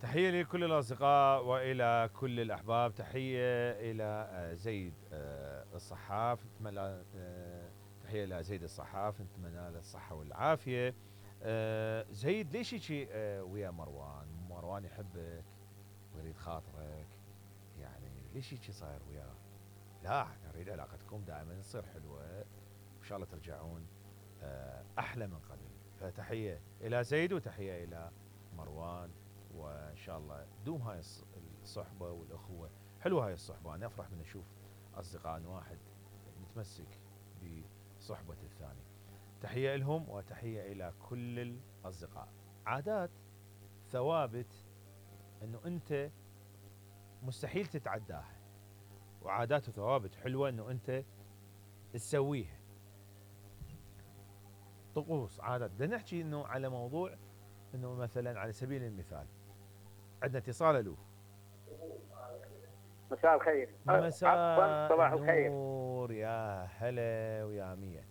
تحية لكل الأصدقاء وإلى كل الأحباب. تحية إلى زيد الصحاف، نتمنى تحية إلى زيد الصحاف، نتمنى له الصحة والعافية. زيد ليش هيجي ويا مروان؟ مروان يحبك ويريد خاطرك، يعني ليش هيجي صاير وياه؟ لا نريد علاقتكم دائما تصير حلوة وإن شاء الله ترجعون أحلى من قبل. فتحية إلى زيد وتحية إلى مروان، وإن شاء الله دوم هاي الصحبة والأخوة. حلوة هاي الصحبة، أنا أفرح من أشوف أصدقاء أن واحد متمسك بصحبة الثاني. تحية لهم وتحية إلى كل الأصدقاء. عادات ثوابت أنه أنت مستحيل تتعداها، وعادات وثوابت حلوة أنه أنت تسويها. طقوس عادات، بدنا نحكي أنه على موضوع أنه مثلا على سبيل المثال عندنا اتصال. ألو، مساء الخير. مساء صباح الخير. النور، يا هلا ويا مية.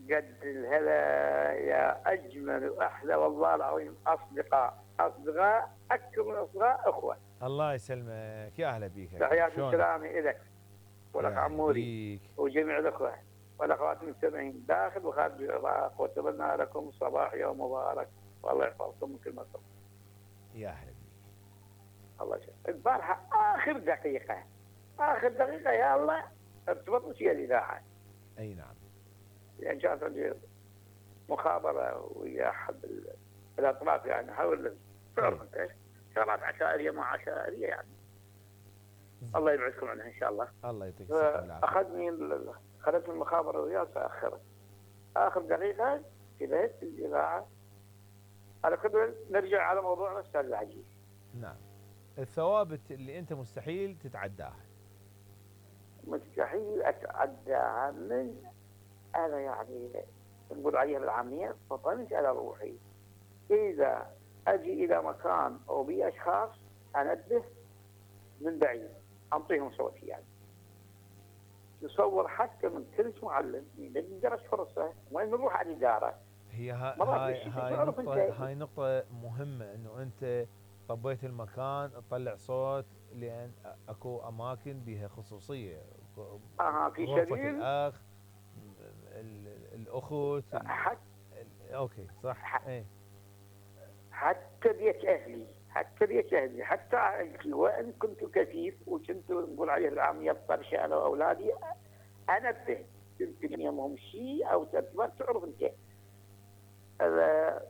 قد الهلا يا اجمل واحلى والله العظيم، اصدقاء اكثر من اصدقاء، اخوه. الله يسلمك، يا اهلا بيك. تحياتي وسلامي لك ولك عموري بيك وجميع الاخوه والاخوات المستمعين داخل وخارج العراق، واتمنى لكم صباح يوم مبارك والله يحفظكم من كل مكان. يا اهلا بيك. الله يسلمك. البارحه اخر دقيقه يا الله ارتبطت ويا الاذاعه. اي نعم. يعني كانت مخابره ويا احد الاطراف، يعني حول تعرف انت شغلات عشائريه مع عشائريه يعني. الله يبعدكم عنها ان شاء الله. الله يعطيك الصحه والعافيه. خذتني المخابره وياه تاخرت. اخر دقيقه كذا الاذاعه. على كذا نرجع على موضوعنا استاذ العزيز. نعم. الثوابت اللي انت مستحيل تتعداها. مستحيل اتعداها، من انا يعني نقول عليها بالعاميه فطنت على روحي. اذا اجي الى مكان او بي اشخاص انبه من بعيد، انطيهم صوتي يعني. تصور حتى من كل معلم درس فرصه وين نروح على الاداره. هاي نقطة مهمة، انه انت طبيت المكان تطلع صوت، لان اكو اماكن بها خصوصية. في غرفة سبيل الاخ، الاخت، اوكي صح. ايه حتى بيت اهلي، حتى وان كنت كثيف وكنت نقول عليه بالعاميه الطرشه انا واولادي، انبه يمكن يومهم شيء او ترتيبات. تعرف انت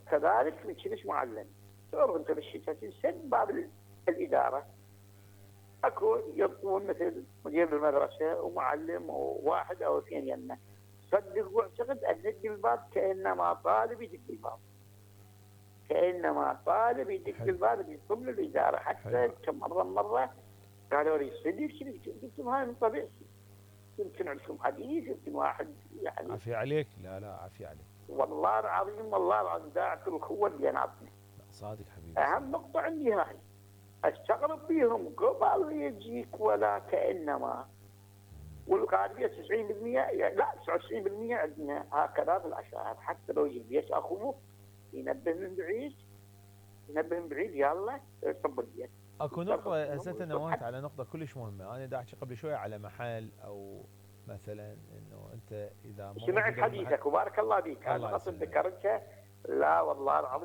كذلك من كلش معلم، تعرف انت بالشتاء تنسد باب الاداره اكو يطلبون مثل مدير المدرسه ومعلم وواحد او اثنين يمه. صدق واعتقد ان ندق الباب كانما طالب يدق الباب، يطلب له الاداره. حتى كم مره قالوا لي صدق قلت لهم هاي من طبيعتي، يمكن عندكم حديث، يمكن واحد يعني. عافية عليك. لا عافية عليك والله العظيم داعت الاخوه اللي بيناتنا. صادق حبيبي. اهم نقطه عندي هاي، استغرب بيهم قبل يجيك ولا كانما. والغالبيه 90% يعني لا 99% عندنا هكذا في العشائر. حتى لو يجي البيت اخوه ينبه من بعيد يلا صب البيت. اكو نقطة هسه نوهت على نقطة كلش مهمة. انا دا احكي قبل شوية على محل او مثلا انه انت اذا سمعت حديثك وبارك الله بيك. انا اصلا ذكرتها. لا والله العظيم